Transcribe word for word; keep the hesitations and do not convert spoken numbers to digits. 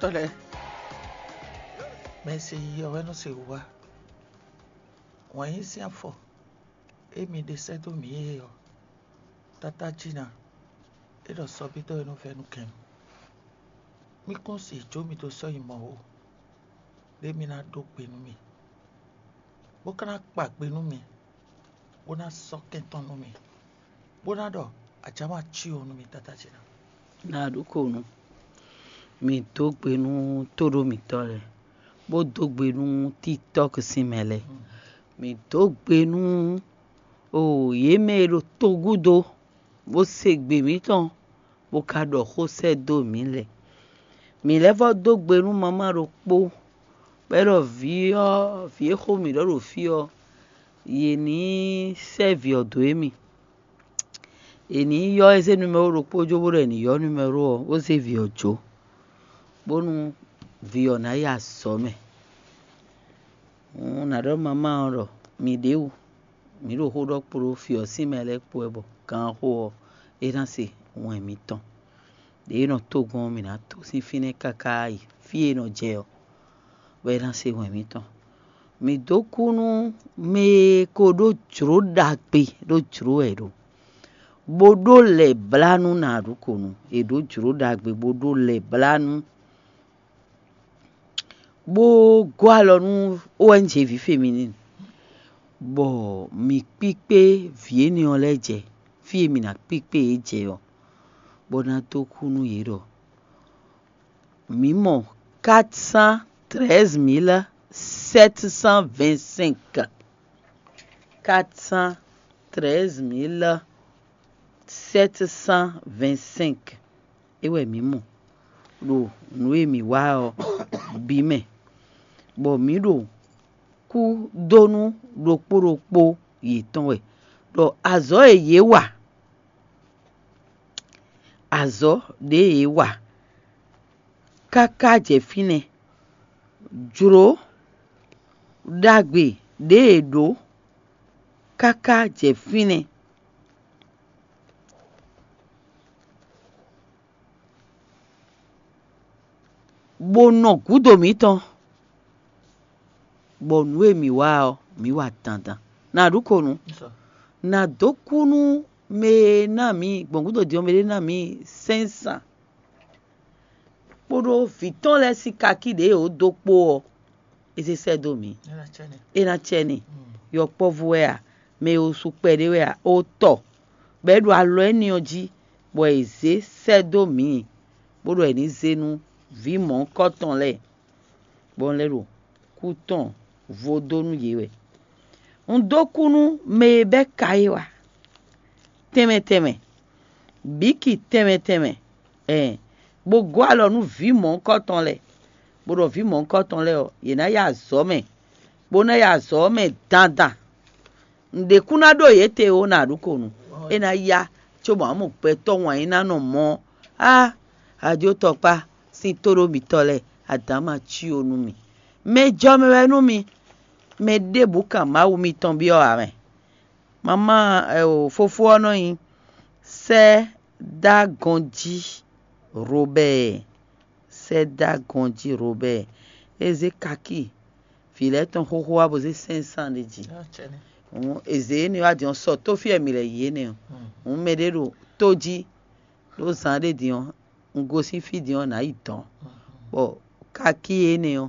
Tɔ́ lɛ́ɛ, mɛ e se yiyi ɔ́ wɛ nɔ se wǔ wá. Wǎn yí sín afɔ e mi ɖe sɛ́ dó mǐ é ɔ́, tátájí ná, é ɖɔ sɔ́bídɔ́ e nɔ vɛ́ nú kɛn mì. Mí kún si jó mi dó sɔ́ nyi mɔ̌ ó, ɖé mi ná ɖó gbe nú mì, bó ka ná kpa gbe nú mì, bó ná sɔ́ kɛn tɔn nú mì, bó ná ɖɔ ajǎ ma cí o nú mì tátájí ná. Nǎ ɖu ko nú mì dó gbe nú tóɖó mǐtɔn lɛ́ɛ, bó dó gbe nú títɔ́ sín mɛ lɛ́ɛ. Mǐ dó gbe nú o yě mɛ e ɖo togúdo bó se gbe mǐtɔn, bó ka ɖɔ xó sɛ́ dó mǐ lɛ́ɛ. Mǐ lɛ́ vɔ́ dó gbe nú mamá ɖokpó, bɔ é ɖɔ vǐ ɔ́, vǐ e xo mǐ ɖɔ ɖo fí ɔ́, yě ní sɛ́ vǐ ɔ́ dó émí. È nǐ ylɔ́ é zé numɛ́ro ɖokpó jó bó ɖɔ è nǐ ylɔ́ numɛ́ro ɔ́, bó zé vǐ ɔ́ jó, bónú vǐ ɔ́ ná yi azɔ̌ mɛ. Hǔn nǎ ɖɔ mamá ɔ́ ɖɔ mǐ ɖě wú, mǐ ɖo xó ɖɔ kpo ɖo fí ɔ́ sín mɛ lɛ́ɛ kpo wɛ bɔ ganxó ɔ́, é ná se wɛn mǐtɔn. Ɖě e nɔ tó gbɔn ɔ́, mǐ ná tó sín fínɛ́ káká yi fí e è nɔ jɛ ɔ́, bɔ é ná se wɛn mǐtɔn. Mǐ dó kú nú mɛ e ko ɖó jlǒ ɖagbe ɖó jlǒ wɛ é ɖo, bó ɖó lɛ̌blánú nǎ ɖu ko nú è ɖǒ jlǒ ɖagbe bó ɖó lɛ̌blánú, bó gɔ́ alɔ nú O N G vǐ Feminine, bɔ mǐ kpíkpé vǐ énɛ́ ɔ́ lɛ́ɛ jɛ fí e mǐ ná kpíkpé yě jɛ ɔ́, bó ná dó kú nú yě ɖɔ mǐ mɔ quatre cent treize mille sept cent vingt-cinq. Quatre cent treize mille sept cent vingt-cinq. É wɛ mǐ mɔ ɖo nǔ e mǐ wa ɔ́ bǐ mɛ, bɔ mǐ ɖo kú dó nú ɖokpó ɖokpó yětɔn wɛ, ɖɔ azɔ̌ e yě wa, azɔ̌ ɖě yě wa káká jɛ fínɛ́, jlǒ ɖagbe ɖě yě ɖǒ káká jɛ fínɛ́, bó nɔ gǔdo mǐtɔn, bɔ nǔ e mǐ wa ɔ́, mǐ wa dandan. Nǎ ɖu ko nú, nǎ dó kú nú mɛ e ná mǐ gbɔn gǔdo din ɔ́, mɛ ɖé ná mǐ sɛ́nsǎn, kpódó vǐ tɔn lɛ́ɛ sín kakí ɖě yě dó kpó ɔ́, é zé sɛ́ dó mǐ. É ná cɛ n'i. Yɔkpɔ́vú wɛ a, mɛ e su kpɛɖé wɛ a, ó tɔ, bɔ é ɖo alɔ énɛ́ ɔ́ jí, bɔ è zě sɛ́ dó mǐ, bó ɖɔ è nǐ zé nú vǐ mɔ̌hunkɔtɔn lɛ́ɛ, bɔ un lɛ́ ɖo kú tɔn vo dó nú yě wɛ. Un dó kú nú mɛ e bɛ́ ka é wa, tɛnmɛ tɛnmɛ, bǐki tɛnmɛ tɛnmɛ, ɛn, bó gɔ́ alɔ nú vǐ mɔ̌hunkɔtɔn lɛ́ɛ, bó ɖɔ vǐ mɔ̌hunkɔtɔn lɛ́ɛ ɔ́, yě ná yi azɔ̌ mɛ, bó ná yi azɔ̌ mɛ dandan. Nǔɖé kún ná ɖó yě te ó, nǎ ɖu ko nú é ná yá, cóbɔ ǎ mɔ gbɛtɔ́ wǎn yí ná nɔ mɔ á, ajo tɔkpá sín tóɖó mitɔ́ lɛ́ɛ, adǎn ma cí ó nú mì. Mɛ jɔ mɛ wɛ nú mi, mɛ ɖěbǔ kan Mawu mitɔn byɔ́ ǎ mɛ. Mamá ɛ o fofó ɔ́ nɔ nyi Sɛ́dágɔnjí Robɛ́ɛ. Sɛ́dágɔnjí Robɛ́ɛ. É zé kakí vǐ lɛ́ɛ tɔn xóxó wá bó zé sɛ́nsán ɖé jí. Hǔn è zě énɛ́ wá din ɔ́, sɔ tó fí wɛ mǐ lɛ́ yi énɛ́ ɔ́. Hǔn mɛɖé ɖo tó jí ɖó zán ɖé din ɔ́, un gosín fí din ɔ́, nǎ yi dɔ̌n, bɔ kakí énɛ́ ɔ́,